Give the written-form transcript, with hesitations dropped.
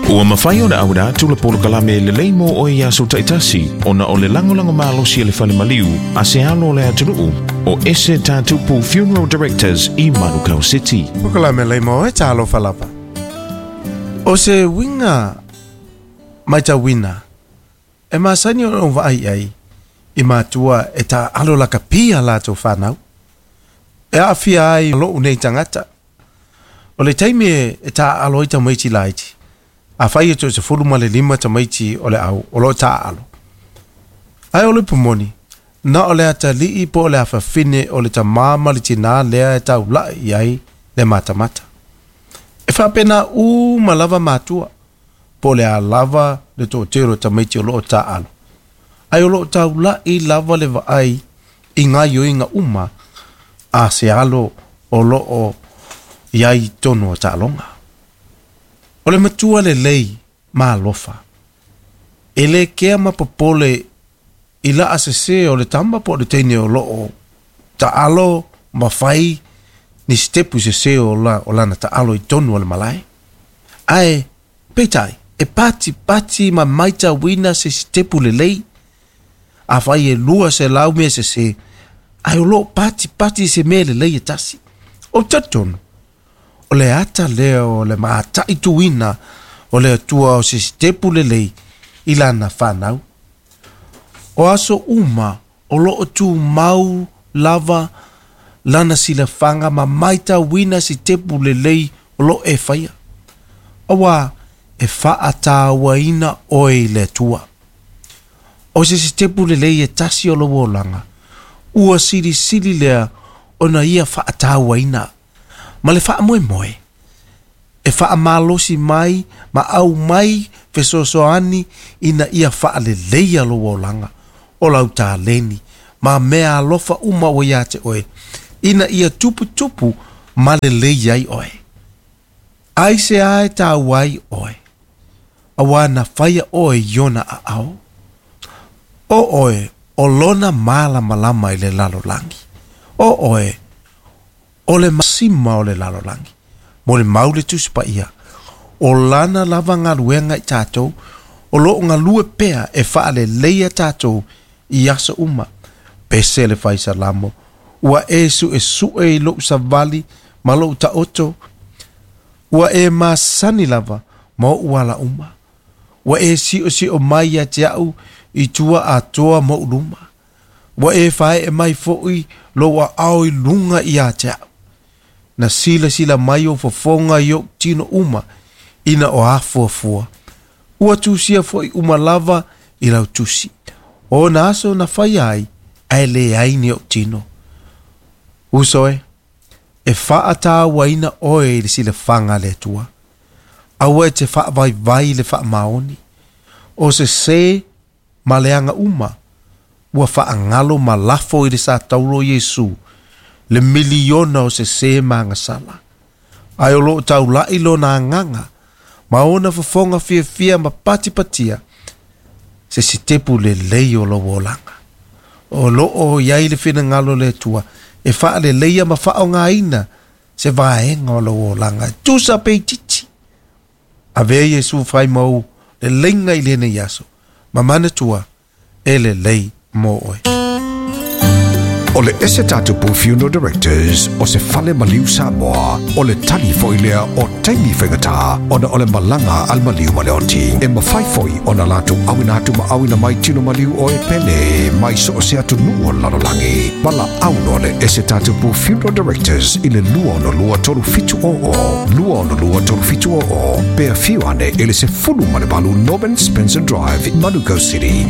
Ua mafai ona auina atu le polokalame lelei mo oe i aso taitasi ona o le lagolago malosi a le fale maliu a se alo o le atunuu o Ese Tatupu Funeral Directors i Manukau City. Polokalame lelei mo oe, talofa lava. O se uiga matauina e masani ona ou vaai i ai i matua e taaalo lakapia latou fanau. E aafia ai lou nei tagata. O le taimi e taaalo ai tamaiti laiti, afai e toe 15 tamaiti o le au o loo taaalo. Ae o le upu moni, na o le atalii po o le afafine o le tamā ma le tinā lea e taulai i ai le matamata. E faapena uma lava matua, po o le a lava le toatele o tamaiti o loo taaalo, ae o loo taulai lava le vaai i gaoioiga uma a se alo o loo i ai i totonu o taaloga. O le matua lelei ma alofa, e le kea ma popole i laa sese o le tama po o le teine o loo taalo ma fai ni sitepu sese o lana taalo i totonu o le malae. Ae peitai, e patipati ma matauina se sitepu lelei. Afai e 200 mea sese, ae o loo patipati se mea lelei e tasi. O talitonu, o le ata lea o le mataituina o le Atua o se sitepu lelei i lana fanau. O aso uma o loo tumau lava lana silafaga ma matauina sitepu lelei o loo e faia. Auā e faatauaina oe i le Atua. O se sitepu lelei e tasi o lou olaga, ua silisili lea ona ia faatauaina ma le faamoemoe e faamalosi mai ma aumai fesoasoani ina ia faaleleia lou olaga o lau taleni ma mea alofa uma ua ia te oe, ina ia tuputupu ma lelei ai oe. Aisea e taua ai oe, auā na faia oe i ona aao? O oe o lona malamalama i le lalolagi. O oe o le masima o le lalolagi. Molimau le Tusi Paia, o lana lava galuega i tatou, o loo galue pea e faaleleia tatou i aso uma. Pese le faisalamo, ua e suesue i lou savali ma lou taoto, ua e masani lava ma oʻu ala uma. Ua e siosio mai ia te au i tua atoa ma ou luma. Ua e faaee mai foi lou aao i luga ia te au. Na silasila mai ou fofoga i ou tino uma ina o afuafua. Ua tusia foi uma lava i lau tusi. O na aso na faia ai, ae leai ni ou tino. Uso e, e faatauaina oe i le silafaga a le Atua. Aua e te faavaivai i le faamaoni. O sesē ma leaga uma, ua faagalo ma lafo i le satauro o Iesu le miliona o sesē ma agasala. Ae o loo taulai lona agaga ma ona fofoga fiafia ma patipatia se sitepu lelei o lou olaga. O loo i ai le finagalo o le Atua e faaleleia ma faaaogaina se vaega o lou olaga e tusa pe itiiti. Avea Iesu fai mau leleiga i lenei aso, ma manatua e lelei mo oe. O le Ese Tatupu Funeral Directors o se fale maliu Samoa, o le tali foi lea o taimi faigata ona o le malaga a le maliu ma le oti. E mafai foi ona latou auina atu ma auina mai tino maliu o e pele mai so o se atunuu o le lalolagi. Valaau loa le Ese Tatupu Funeral Directors i le 262 3700, 262 3700, pe afio ane i le 18 Norman Spencer Drive, Manukau City.